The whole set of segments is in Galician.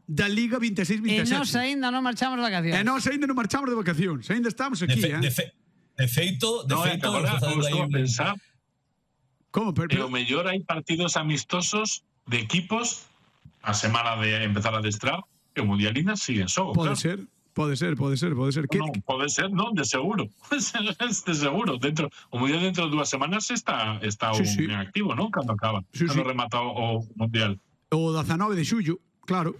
da Liga 26-27. E nós aínda non marchamos de vacacións. E nós aínda non marchamos de vacacións. Aínda estamos aquí, De feito, agora estou a pensar. Como? E o mellor hai partidos amistosos de equipos a semana de empezar a adestrar que o Mundial ainda sigue en xogo. Pode ser. Pode ser. Non, pode ser, non, de seguro. De seguro. O Mundial dentro de 2 semanas está en activo, non? Cando acaba. Cando remata o Mundial. O 19 de xullo, claro.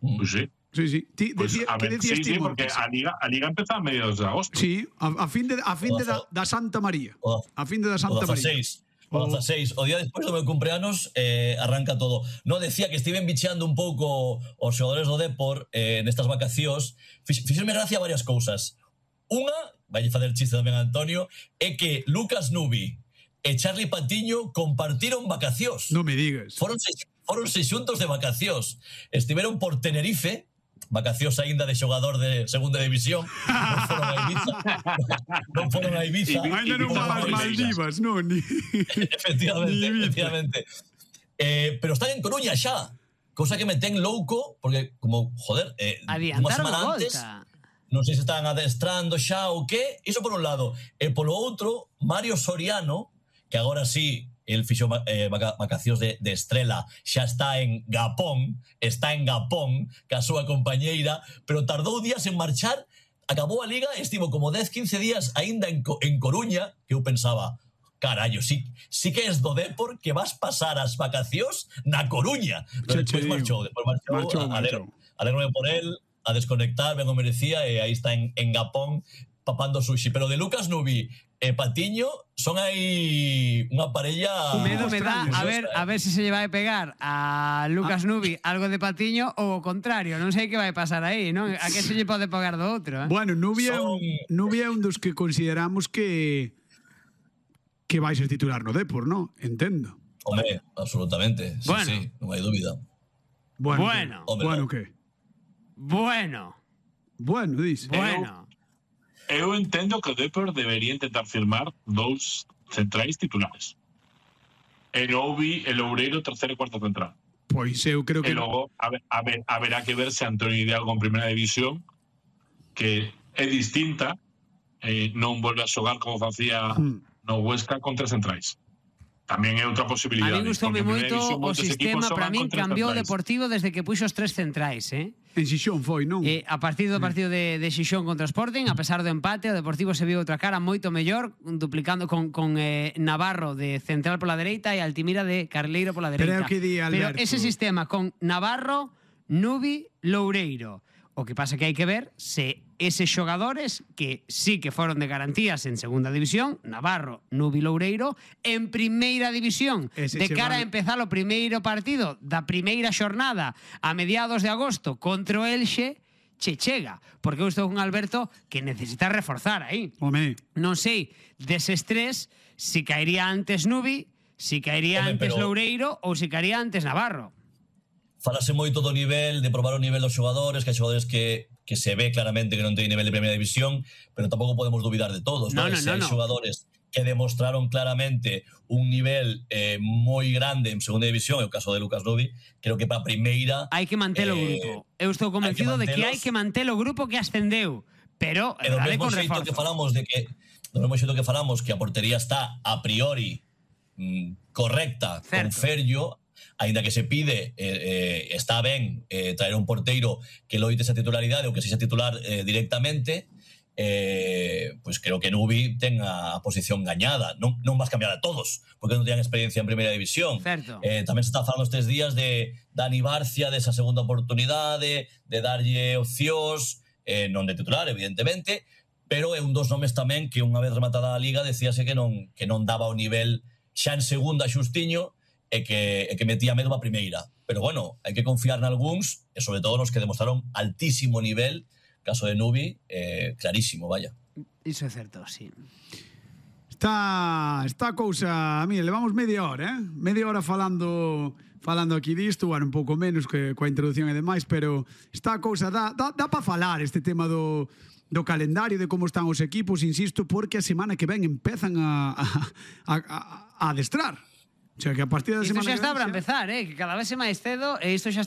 Pois sí. Sí. Pues, a ver, sí, porque a Liga empeza a mediados de agosto. Sí, a fin de da Santa María. A fin de da Santa María. O 16, o día despois do meu cumpleanos arranca todo. No, decía que estiven bicheando un pouco os xogadores do Depor nestas vacacións. Fixerme gracia varias cousas. Unha, vai facer chiste tamén a Antonio, é que Lucas Nubi e Charlie Patiño compartiron vacacións. Non me digas. Foron seis xuntos de vacacións. Estiveron por Tenerife, vacacións aínda de xogador de segunda división. Non foron a Ibiza. Ainda non van as Maldivas, non? Efectivamente. Pero están en Coruña xa. Cosa que me ten louco, porque como, joder, unha semana antes, non sei se están adestrando xa ou que, iso por un lado. E polo outro, Mario Soriano, que agora sí, el fixo vacacións de estrela, xa está en Gapón, ca súa compañeira, pero tardou días en marchar, acabou a Liga, estivo como 10-15 días aínda en Coruña, que eu pensaba, carallo, sí que es do Depor que vas pasar as vacacións na Coruña. Pero despois marchou, alégrome por él, a desconectar, ben o merecía, e aí está en Gapón papando sushi. Pero de Lucas Nubi e Patiño son aí unha parella. Medo me dá a ver se se lle vai pegar a Lucas Nubi algo de Patiño ou o contrario, non sei que vai pasar aí, non? A que se lle pode pegar do outro, Bueno, Nubi é un dos que consideramos que vai ser titular no Depor, non? Entendo. Home, absolutamente. Sí, non hai dúbida. Bueno, que? Bueno, dice. Eu entendo que o Depor debería intentar firmar 2 centrais titulares. E Nubi e Loureiro terceiro e cuarto central. Pois eu creo que... E logo haberá que ver se Antonio Hidalgo en primeira división, que é distinta, non volve a xogar como facía no Huesca con 3 centrais. Tamén é outra posibilidade. A mí gustoume moito o sistema, para min cambiou o Deportivo desde que puxo os 3 centrais, En Xixón foi, non? A partir do partido de Xixón contra Sporting, a pesar do empate, o Deportivo se viu outra cara moito mellor, duplicando con Navarro de central pola dereita e Altimira de carleiro pola dereita. Pero ese sistema con Navarro, Nubi, Loureiro. O que pasa que hai que ver se eses xogadores que sí que foron de garantías en segunda división, Navarro, Nubi, Loureiro, en primeira división, de cara a empezar o primeiro partido da primeira xornada a mediados de agosto contra o Elxe, chega, porque eu estou con Alberto que necesita reforzar aí. Non sei, deses 3, si caería antes Nubi, si caería antes Loureiro ou si caería antes Navarro. Falase moito do nivel, de probar o nivel dos xogadores, que hai xogadores que se ve claramente que non teñen nivel de primeira división, pero tampouco podemos dubidar de todos. No. Se hai xogadores que demostraron claramente un nivel moi grande en segunda división, é o caso de Lucas Nubi, creo que para a primeira... Hai que mantelo o grupo. Eu estou convencido de que hai que mantelo o grupo que ascendeu, pero dale con reforzo. Do mesmo xeito que falamos que a portería está a priori correcta, con Ferllo, aínda que se pide, está ben traer un porteiro que loite esa titularidade ou que sexa titular directamente, pois creo que Nubi ten a posición gañada. Non vas cambiar a todos, porque non teñan experiencia en primeira división. Tamén se está falando estes días de Dani Barcia, desa segunda oportunidade, de darlle opcións, non de titular, evidentemente, pero é un dos nomes tamén que unha vez rematada a Liga decíase que non daba o nivel xa en segunda xustiño, e que metía medo a primeira. Pero bueno, hai que confiar nalgúns, e sobre todo nos que demostraron altísimo nivel, caso de Nubi, clarísimo, vaya. Iso é certo, sí. Está cousa, mire, levamos media hora, media hora falando aquí disto, bueno, un pouco menos que coa introducción e demais, pero está cousa, dá para falar este tema do calendario, de como están os equipos, insisto, porque a semana que ven empezan a adestrar. O sea, que a partir da semana isto xa está para empezar, que cada vez é máis cedo, e isto xa